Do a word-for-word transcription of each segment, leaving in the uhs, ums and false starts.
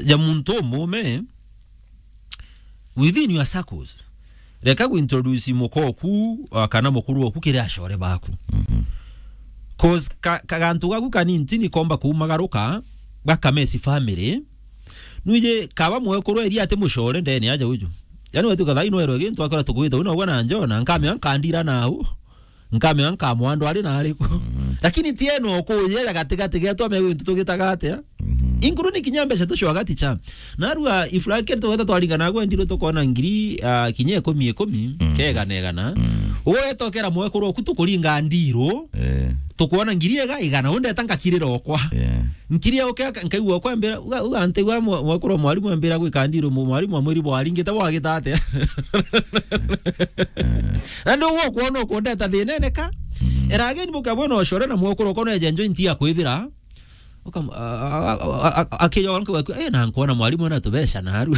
ja muntu umume within your circles. Reka gu introduce muka oku, ah, kana mukuru oku kiri acore baku. Mhm. 'Cause ka, kagantu gaku kanini ni komba kuumagaruka, gakamesi family. Nwiji kaba mwekuru eri ati mucore ndene aja uju. Yani wetu kathai no erwe gintu akora tukwita uno gwa na njona, nkamea nkandira nau. Nkamea nkamwandwa ari na ariku. Mhm. Lakini ti eno kuye ya gatigati getu ame gwintu tugitaga atia? Mhm. Inkuru ni kinya mbeca tucwaga ticha. Narua ifurake tugeta twaringana gwe ndiru tukona ngiri, ah, kinya ikumi ikumi, mhm, kegana igana. Mhm. Uwe etokera mwekuru oku tukuringa ndiru, eh, tukwona ngiri ega igana, unde tanga kirira okwa. Yeah. Nkiri ya uke aka-, nkaigua kwa mbira, uga, uga nte gwa mwa-, mwekuru mwarimu mbira gwika ndiru, mu-, mwarimu amwiri bwaringite bwagita atia? Na ndio uguo kwona ukundeta thina ene ka. Mm. Era ageni buka bwona ucore na mwekuru ukona eja njo inti ya kwithira. Ukam-, a-, a-, a-, a-, a-, akijoka nkuga ku, "Eh, na nkuona mwarimu na tubeca na aru."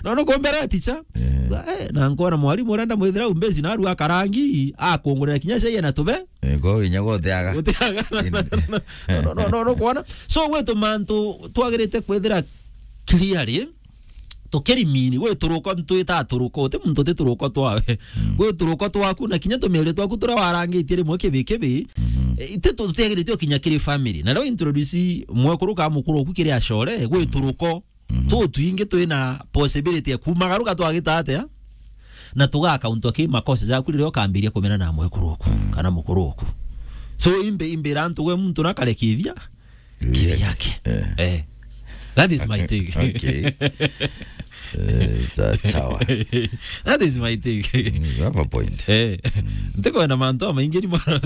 No, no, kumbera ticha. Eh. "Eh, na nkuona mwarimu urenda mwithira umbeci na aru akarangi, akungurira kinya cai na tube. Eh, kwa hinya gutiaga. Gutiaga. In- No, no, no, no, no, kwona. So, gwitu mantu twagirite kwithira clearly, tukirimini, gwi turuko ntwita turuko, uti muntu uti turuko twawe. Mm. Gwi turuko twaku, na kinya tumieri twaku turia warangitie rimwe kibi kibi, mhm, eh, iti tutiagiritie kinya kiri family. Na riu introduce mwekuru ka mukuru oku kiri acore, gwi turuko. Mhm. Tu twingi twina possibility ya kumagaruka twagita atia? Na tuga account ki makosa jaku riria ukambiria kumena na mwekuru oku, mm, kana mukuru oku. So, imbe, imbira antu gwe muntu na karekithia, kibi yake. Eh. Eh. That is my take. Okay. Eh, sa-, sawa. That is my take. Mm, you have a point. Eh. Mm. Ntikwenda mantu amaingi ni mwana,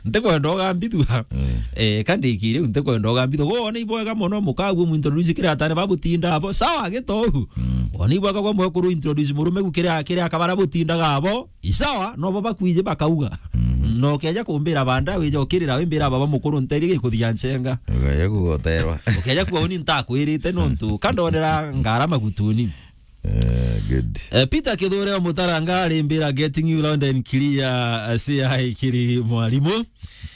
ntikwenda ugambithua. Mm. Eh, kandi ikiri, ntikwenda ugambithua. Wona ibwega mono mukagu mu introduce kiri atane babutinda abo. Sawa, gitohu. Mm. Wona ibwega kwa mwekuru introduce murume gu kiri, kiri akabara butindaga abo. Isawa, no bo bakwije bakauga. Mhm. No ukeja kumbira banda, wije ukirira wimbira baba mukuru nterie gikuthia nchenga. Ukeja kugoterwa. Ukeja kuga uni ntakwirite nontu, kandonera ngara magutuni. Eh, good. Eh, Peter Kithure wa Mutaranga arimbira getting you loud and clear, eh, C I kiri mwarimu.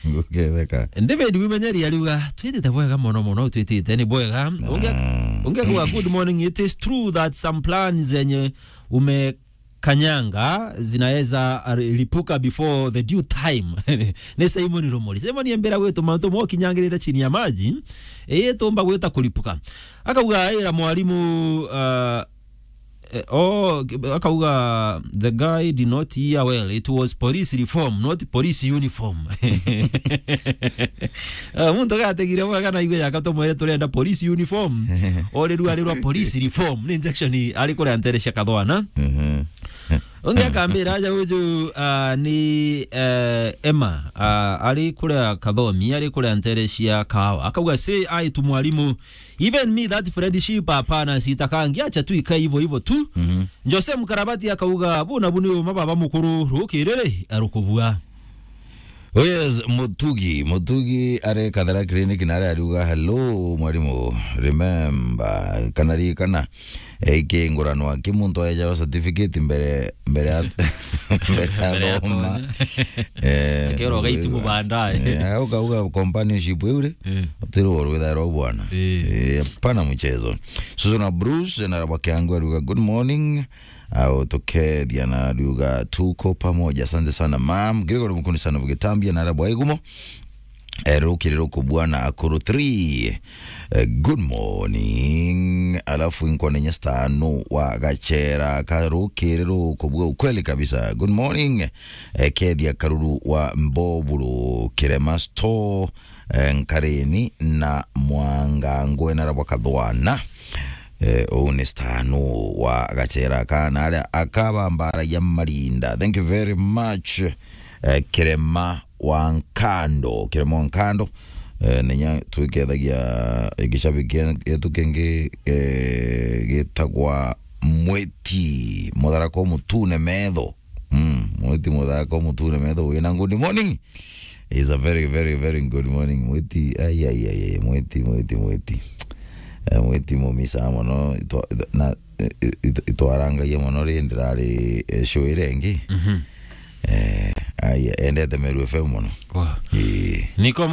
Nguketheka. David Wimenyeri ariuga, "Twitite bwega mono mono, twitite ni bwega." Unge-, ah, unge kuga, "Good morning, it is true that some plans zenye ume kanyanga zinaweza lipuka before the due time." Ni Simon Rumori. Simon embira gwitu mantu mo kinyangirite chini ya maji, ii tumba gwita kulipuka. Akauga, "Ira mwarimu, uh, eh, oh," akauga, "The guy did not hear well. It was police reform, not police uniform." Ah, muntu gategire bwega na igwe yaka tumwere turenda police uniform. Ore rua rwa police reform. Ni injection ari kuria ntere cia kathwana. Mhm. Ungi akambira aja uju, ah, ni, eh, Emma, ah, ari kuria kathomi, ari kuria ntere cia kawa. Akauga, "Say I to mwarimu. Even me that friendship, hapana, sitakangi, acha tu ikae hivyo hivyo tu." Mhm. Jose Mkarabati akauga, "Bu na bu ni uma baba mukuru, rukiriri arukubua." Oh yes, Mutugi. Mutugi ari Kathara Clinic na ari ariuga, "Hello, mwarimu. Remember, kana ririkana, eh, ikinguranwa ki muntu aejawa certificate mbere, mbere ya, mbere ya thoma." Eh, akerwa gaitimu bandae. Eh, ukauga companionship iu ri, eh, utirwo rwitha rwa bwana. Eh. Eh, hapana mchezo. Susu na Bruce, na Rabwa Kiangu ariuga, "Good morning." Au tukethia na ariuga, "Tuko pamoja." Asante sana, ma'am. Gregory Mukuni sana bugitambia na Rabwa igumo. Eh, rukiri ruku bwana akuru three. Eh, good morning. Alafu inkone nyesta no wa gachera ka rukiri ruku bwa ukweli kabisa. Good morning. Eh, kethia karuru wa Mboburu, Kirema Store, eh, Nkareni na Mwanga ngwena Rabwa kathwana. Eh, uu ni Stano wa gachera kana aria akabambaragia marinda. Thank you very much, eh, Kirema wa Nkando, Kirema wa Nkando. Eh, nenya twikethagia gicabi kia-, gietu kingi, eh, gitagwa Mwiti, mutharako mutune metho. Mm, Mwiti muthako mutune metho wina good morning. It's a very, very, very good morning. Mwiti, ai, ai, ai, ai, Mwiti, Mwiti, Mwiti. Eh, Mwiti mumisa mono, itwa-, na, eh, it-, itwarangagia mono ri ndirari, eh, show iria ingi. Mhm. Eh, ai, endete Meru F M mono. Wow. Ii. Niko